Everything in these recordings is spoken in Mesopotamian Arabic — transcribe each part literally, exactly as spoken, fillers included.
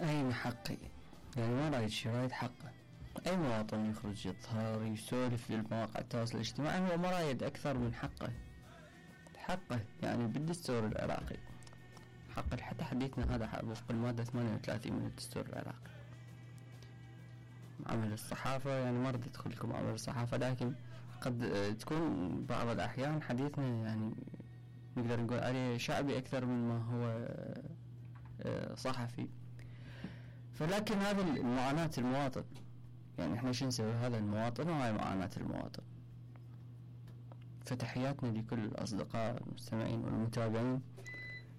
اي من حقي، يعني ما رايد شي، رايد حقه. اي مواطن يخرج يظهر يسولف للمواقع التواصل الاجتماعي هو ما رايد اكثر من حقه. حقه يعني بالدستور العراقي، حق حتى حديثنا هذا وفق المادة ثمانية وثلاثين من الدستور العراقي. عمل الصحافة يعني ما رد ادخل لكم عمل الصحافة، لكن قد تكون بعض الأحيان حديثنا يعني نقدر نقول عليه شعبي أكثر من ما هو صحفي. فلكن هذا المعاناة المواطن، يعني احنا شو نسوي؟ هذا المواطن وهاي معاناة المواطن. فتحياتنا لكل الأصدقاء المستمعين والمتابعين.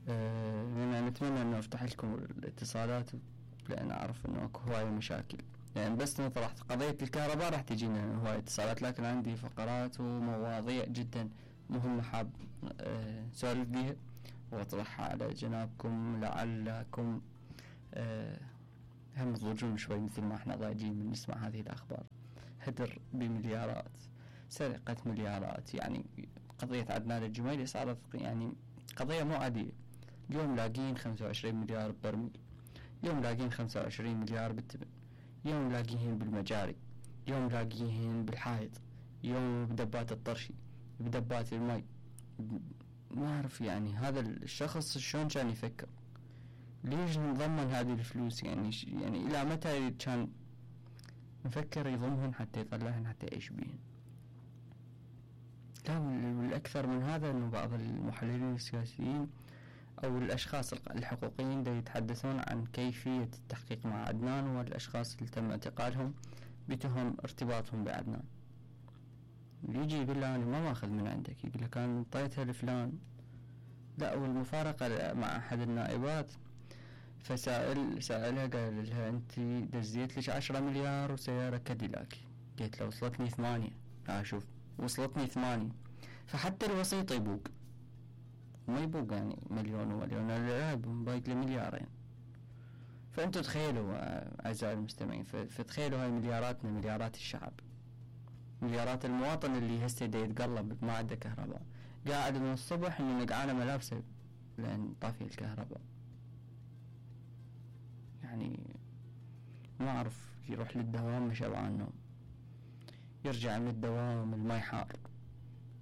أه نتمنى أنه أفتح لكم الاتصالات، لأن أعرف أنه أكو هواية مشاكل، يعني بس طرحت قضية الكهرباء راح تجينا هواية اتصالات، لكن عندي فقرات ومواضيع جدا مهمة حاب أه سؤال بيها وأطرحها على جنابكم لعلكم أه هم تضوجون شوي مثل ما احنا ضايجين من نسمع هذه الأخبار. هدر بمليارات، سرقة مليارات، يعني قضية عدنان الجميلي صارت يعني قضية مو عادية. اليوم لاقين خمسة وعشرين مليار ببرميل، اليوم لاقين خمسة وعشرين مليار بالتبن، يوم لاقيهن بالمجاري، يوم لاقيهن بالحائط، يوم بدبات الطرشي، بدبات المي. ما أعرف يعني هذا الشخص شلون كان يفكر؟ ليش نضمن هذه الفلوس؟ يعني يعني إلى متى كان مفكر يضمهن حتى يطلعهن حتى يعيش بيهن؟ لا، والأكثر من هذا أنه بعض المحللين السياسيين أو الأشخاص الحقوقيين دا يتحدثون عن كيفية التحقيق مع عدنان والأشخاص اللي تم اعتقالهم بتهم ارتباطهم بعدنان. يجي يقول له أنا ما ماخذ من عندك، يقول لك أنا انطيتها لفلان. لا، والمفارقة مع أحد النائبات فسائل سائلها قال لها أنت دزيت لك عشرة مليار وسيارة كاديلاك. قلت له وصلتني ثمانية. لا شوف، وصلتني ثمانية. فحتى الوسيط يبوق، ما يبوق يعني مليون ومليون، لا بايق لمليارين. فأنتوا تخيلوا أعزائي المستمعين، فتخيلوا هاي ملياراتنا، مليارات الشعب، مليارات المواطن اللي هسه دا يتقلب ما عنده كهرباء، قاعد من الصبح انه نقعانه ملابسه لأن طافي الكهرباء. يعني ما أعرف، يروح للدوام مش شبعان نوم، يرجع من الدوام الماء حار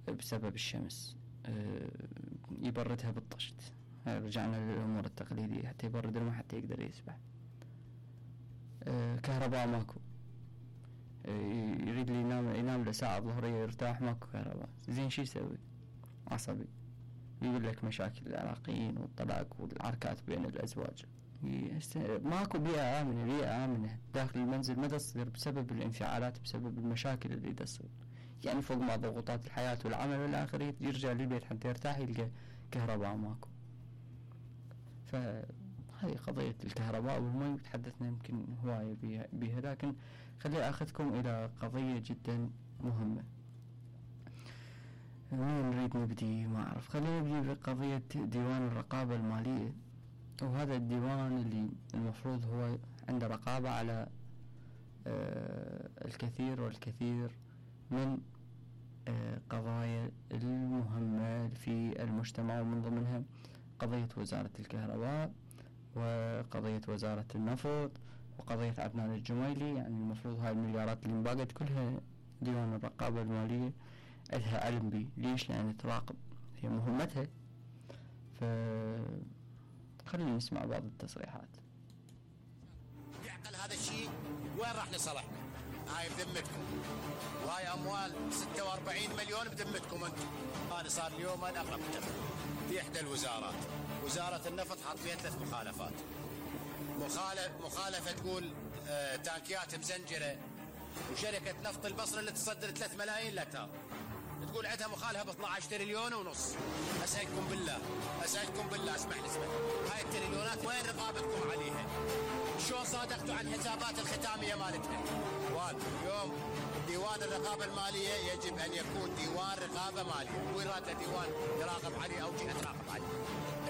بسبب الشمس، أه يبردها بالطشت. رجعنا للأمور التقليدية، حتى يبرد الماء حتى يقدر يسبح. أه كهرباء ماكو، أه يريد لي ينام ينام لساعة ظهرية يرتاح، ماكو كهرباء. زين شي يسوي؟ عصبي، يقول لك مشاكل العراقيين والطلاق والعركات بين الأزواج. ماكو بيئة آمنة، بيئة آمنة داخل المنزل ما تصير بسبب الانفعالات، بسبب المشاكل اللي تصير. يعني فوق ما ضغوطات الحياة والعمل والآخر، يرجع للبيت حتى يرتاح يلقى كهرباء ماكو. فهذه قضية الكهرباء والمي تحدثنا يمكن هواية بها، لكن خلي أخذكم إلى قضية جدا مهمة. مين نريد نبدي؟ ما أعرف، خلينا نبدي بقضية ديوان الرقابة المالية. وهذا الديوان اللي المفروض هو عنده رقابة على آه الكثير والكثير من آه قضايا المهمة في المجتمع، ومن ضمنها قضية وزارة الكهرباء وقضية وزارة النفط وقضية عدنان الجميلي. يعني المفروض هاي المليارات اللي انباقت كلها ديوان الرقابة المالية عندها علم بي. ليش؟ لأن تراقب، هي مهمتها. ف خلينا نسمع بعض التصريحات. يعقل هذا الشيء وين راح نصلحنا؟ هاي بذمتكم، وهاي اموال ستة وأربعين مليون بذمتكم انتم. انا صار اليوم انا اقرب في احدى الوزارات، وزاره النفط، حاط فيها ثلاث مخالفات. مخالف مخالفه تقول آه تانكيات مزنجره، وشركه نفط البصره اللي تصدر ثلاث ملايين لتر تقول عندها مخالفه ب اثني عشر تريليون ونص. اسالكم بالله، اسالكم بالله، اسمح لي اسمح هاي التريليونات وين رقابتكم عليها؟ شلون صادقتوا عن حسابات الختاميه مالتها؟ اليوم ديوان الرقابه الماليه يجب ان يكون ديوان رقابه ماليه، وين راد ديوان يراقب عليه او جهه تراقب عليه.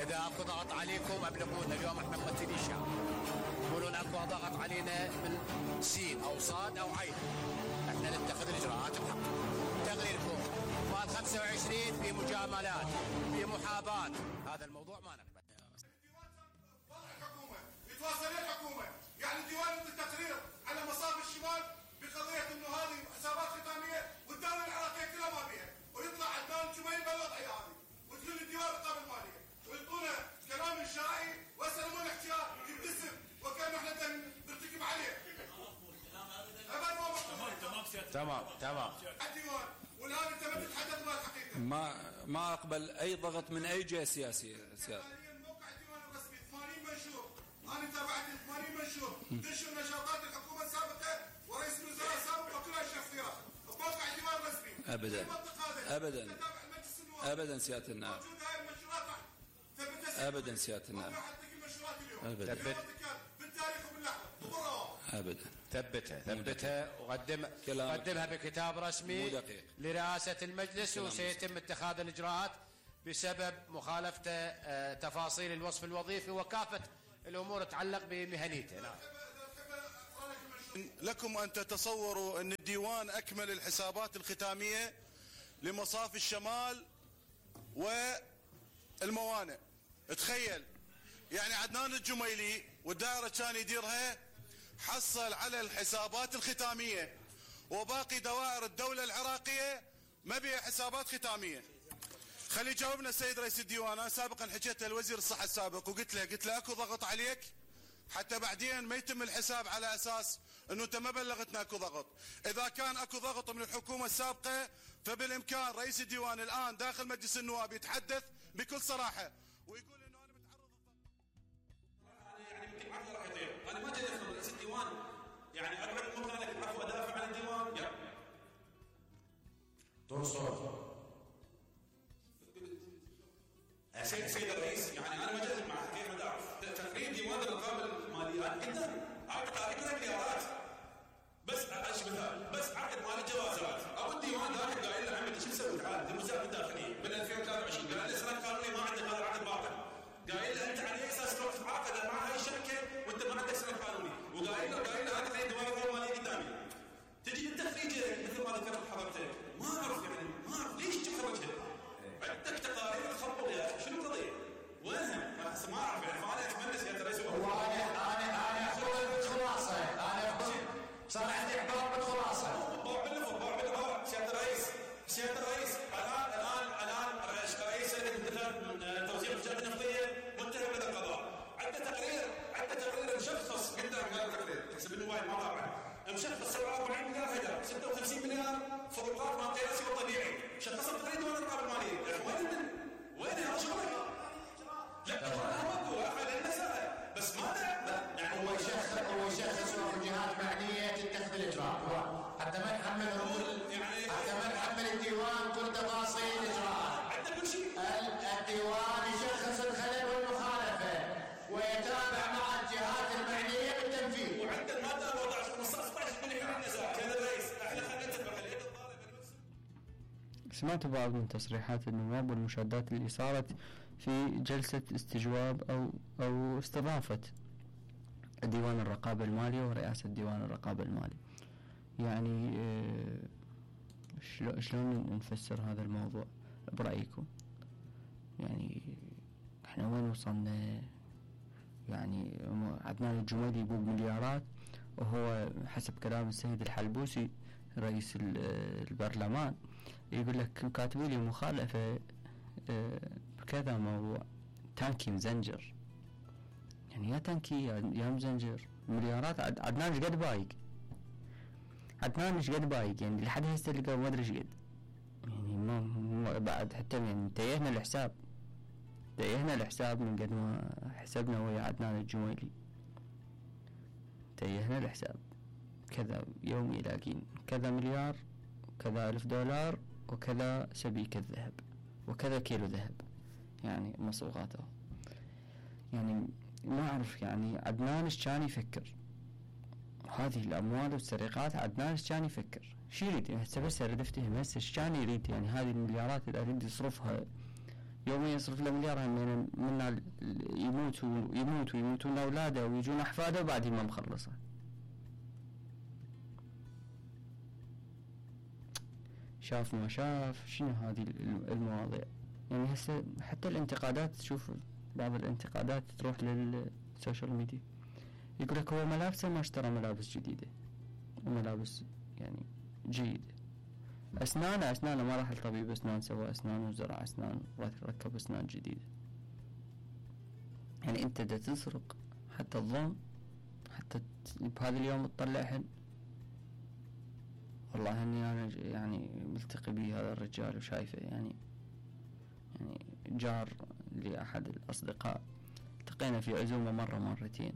اذا اكو ضغط عليكم ابلغونا، اليوم احنا ممثلي الشعب، يقولون اكو ضغط علينا من سين او صاد او عين، احنا نتخذ الاجراءات بحق. تقريركم مال خمسة وعشرين في مجاملات، في محاباه، هذا الموضوع ما نقبل. الحكومه يتواصل الحكومه تمام تمام. الديوان والان انت ما تتحدث مع الحقيقه. ما ما اقبل اي ضغط من اي جهه سياسيه. حاليا موقع الديوان الرسمي ثمانين منشور، انا تابعت ثمانين منشور تنشر نشاطات الحكومه السابقه ورئيس الوزراء السابق وكلها شخصيات بموقع الديوان الرسمي. ابدا ابدا ابدا سياده النائب. موجود هاي المنشورات راح ثبتها ابدا سياده النائب. راح تلقي المنشورات اليوم. ابدا بالتاريخ وباللحظه وبالروابط. ابدا. ثبتها ثبتها وقدم قدمها بكتاب رسمي لرئاسة المجلس، وسيتم اتخاذ الإجراءات بسبب مخالفته آه تفاصيل الوصف الوظيفي وكافة الأمور تتعلق بمهنيته. نعم. لكم أن تتصوروا أن الديوان أكمل الحسابات الختامية لمصافي الشمال والموانئ. تخيل يعني عدنان الجميلي والدائرة كان يديرها حصل على الحسابات الختامية، وباقي دوائر الدولة العراقية ما بيها حسابات ختامية. خلي يجاوبنا السيد رئيس الديوان. أنا سابقا حكيت للوزير الصحة السابق وقلت له قلت له اكو ضغط عليك حتى بعدين ما يتم الحساب على اساس انه انت ما بلغتنا اكو ضغط. اذا كان اكو ضغط من الحكومة السابقة فبالامكان رئيس الديوان الان داخل مجلس النواب يتحدث بكل صراحة ويقول انه انا متعرض يعني يمكن راح يطير. انا ما جاي ادخل رئيس الديوان يعني اقعد مكانك العفو ادافع عن الديوان. يلا دور صوت سيد سيد الرئيس. يعني انا ما جاي معك كيف ما اعرف تقرير ديوان الرقابه الماليه قدام عقد تقريبا مليارات بس اشبه بس عقد مال الجوازات. ابو الديوان ذاك قايل له عمي شو مسوي تعال الموزات الداخليه من ألفين وثلاثة وعشرين قال له اسناد قانوني ما عندك هذا العقد باطل. قايل له انت على اي اساس تروح تتعاقد مع هاي الشركه وانت ما عندك سند قانوني. وقايل له قايل له هذا ديوان الرقابه الماليه قدامي. تجي انت خريجه مثل ما ذكرت حضرتك ما اعرف يعني ما اعرف ليش تخرجها. عندك تقارير تخبط يا اخي شنو القضيه؟ وينها؟ ما اعرف يعني. فانا اتمنى سياده الرئيس هو انا انا انا اقول بالخلاصه انا اقول صار عندي احباط بالخلاصه. باع باللفظ باع باللفظ سياده الرئيس سياده الرئيس الان الان الان رئيس لجنه من توزيع الجهات النفطيه متهم لدى القضاء. عنده تقرير عنده تقرير مشخص قدام هذا التقرير حسب الموبايل ما طبعا مشخص سبعة وأربعين مليار هدر ستة وخمسين مليار فروقات ما قياسي والطبيعي. شخص التقرير دون الرقابه الماليه. وين وين هذا شغلك؟ لا انا اقول اخذ المساله بس ما لا يعني هو يشخص هو يشخص جهات معنيه تتخذ الاجراء حتى ما نحمل يعني حتى ما نحمل الديوان كل تفاصيل الاجراءات. عنده كل شيء. الديوان يشخص الخلل والمخالفه ويتابع مع الجهات المعنيه بالتنفيذ. وعنده الماده أربعة عشر خمسة عشر من حين النزاع. كان الرئيس احنا خلينا نتفق اليد الطالب. سمعت بعض من تصريحات النواب والمشادات اللي صارت في جلسة استجواب أو أو استضافة ديوان الرقابة المالية ورئاسة ديوان الرقابة المالي. يعني شلون نفسر هذا الموضوع برأيكم؟ يعني احنا وين وصلنا؟ يعني عدنان الجميلي يبوق مليارات وهو حسب كلام السيد الحلبوسي رئيس البرلمان يقول لك كاتبوا لي مخالفة بكذا موضوع تانكي مزنجر. يعني يا تانكي يا مزنجر مليارات. عدنان ايش قد بايق؟ عدنان ايش قد بايق؟ يعني لحد هسه اللي ما ادري ايش قد. يعني ما بعد حتى يعني تيهنا الحساب تيهنا الحساب من قد ما حسبنا ويا عدنان الجميلي. تيهنا الحساب كذا يومي لاقين كذا مليار كذا ألف دولار وكذا سبيكة ذهب وكذا كيلو ذهب. يعني مصروفاته يعني ما أعرف. يعني عدنان إيش كان يفكر؟ هذه الأموال والسرقات عدنان إيش كان يفكر؟ شو يريد؟ هسه بس أريد أفتهم هسه إيش كان يريد؟ يعني هذه المليارات اللي أريد يصرفها يوميا يصرف له مليار من من يموت ويموت ويموتون أولاده ويجون أحفاده وبعدين ما مخلصه. شاف ما شاف شنو هذه المواضيع. يعني هسه حتى الانتقادات تشوف بعض الانتقادات تروح للسوشيال ميديا يقول لك هو ملابسه ما اشترى ملابس جديدة وملابس يعني جيدة. أسنانه أسنانه ما راح لطبيب أسنان سوى أسنان وزرع أسنان وركب أسنان جديدة. يعني أنت دا تسرق حتى الظن حتى بهذا اليوم تطلع حل والله اني انا يعني ملتقي به هذا الرجال وشايفه يعني يعني جار لاحد الاصدقاء، التقينا في عزومة مرة مرتين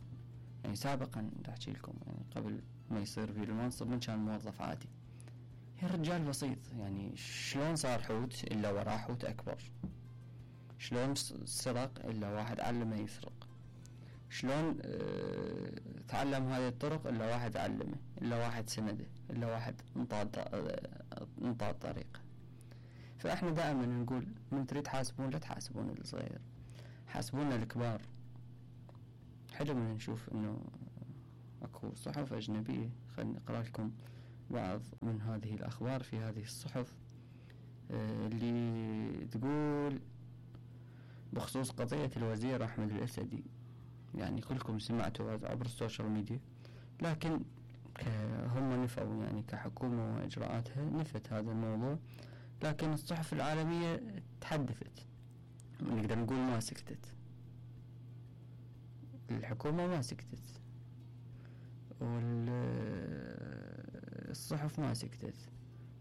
يعني سابقا احكي لكم يعني قبل ما يصير في المنصب من كان موظف عادي. يا رجال بسيط يعني شلون صار حوت الا وراه حوت اكبر، شلون سرق الا واحد علمه يسرق، شلون اه تعلم هذه الطرق الا واحد علمه، الا واحد سنده، الا واحد انطاه انطاه الطريقة. فاحنا دائما نقول من تريد تحاسبون لا تحاسبون الصغير، حاسبونا الكبار. حلو من نشوف انه اكو صحف اجنبية، خليني اقرأ لكم بعض من هذه الاخبار في هذه الصحف اللي تقول بخصوص قضية الوزير احمد الاسدي. يعني كلكم سمعتوا عبر السوشيال ميديا، لكن هم نفوا يعني كحكومة واجراءاتها نفت هذا الموضوع، لكن الصحف العالمية تحدثت، نقدر نقول ما سكتت. الحكومة ما سكتت والصحف ما سكتت.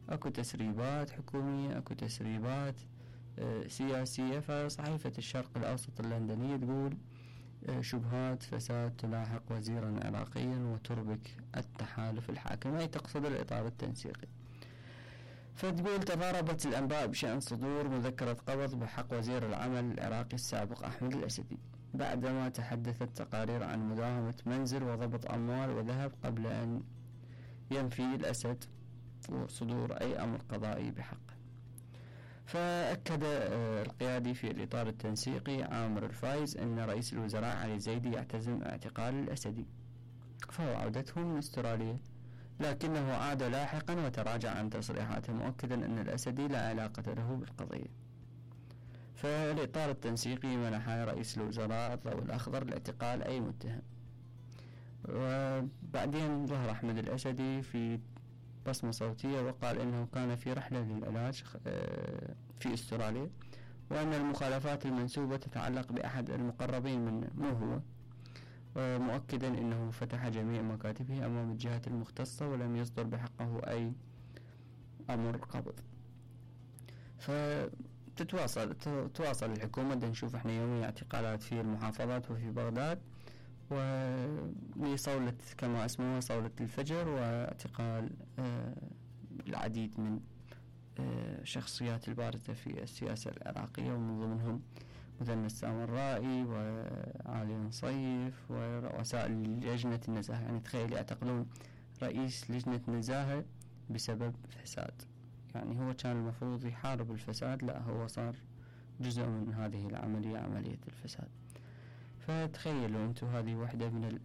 اكو تسريبات حكومية، اكو تسريبات سياسية. فصحيفة الشرق الاوسط اللندنية تقول شبهات فساد تلاحق وزيرا عراقيا وتربك التحالف الحاكم، اي تقصد الاطار التنسيقي. فتقول تضاربت الانباء بشأن صدور مذكرة قبض بحق وزير العمل العراقي السابق احمد الاسدي، بعدما تحدثت تقارير عن مداهمة منزل وضبط اموال وذهب قبل ان ينفي الاسد وصدور اي امر قضائي بحقه. فأكد القيادي في الإطار التنسيقي عامر الفايز أن رئيس الوزراء علي زيدي يعتزم اعتقال الأسدي، فهو عودته من استراليا، لكنه عاد لاحقا وتراجع عن تصريحاته مؤكدا أن الأسدي لا علاقة له بالقضية. فالإطار التنسيقي منح رئيس الوزراء الضوء الأخضر لاعتقال أي متهم. وبعدين ظهر أحمد الأسدي في بصمة صوتية وقال إنه كان في رحلة للعلاج في استراليا، وأن المخالفات المنسوبة تتعلق بأحد المقربين منه مو هو، مؤكدا إنه فتح جميع مكاتبه أمام الجهات المختصة ولم يصدر بحقه أي أمر قبض. فتتواصل تواصل الحكومة، نشوف احنا يوميا اعتقالات في المحافظات وفي بغداد، ولصولة كما اسمها صولة الفجر، واعتقال آه العديد من آه شخصيات البارزة في السياسة العراقية، ومن ضمنهم مثنى السامرائي وعلي نصيف ورؤساء لجنة النزاهة. يعني تخيل يعتقلون رئيس لجنة نزاهة بسبب فساد، يعني هو كان المفروض يحارب الفساد، لا هو صار جزء من هذه العملية، عملية الفساد. فتخيلوا أنتم هذه واحدة من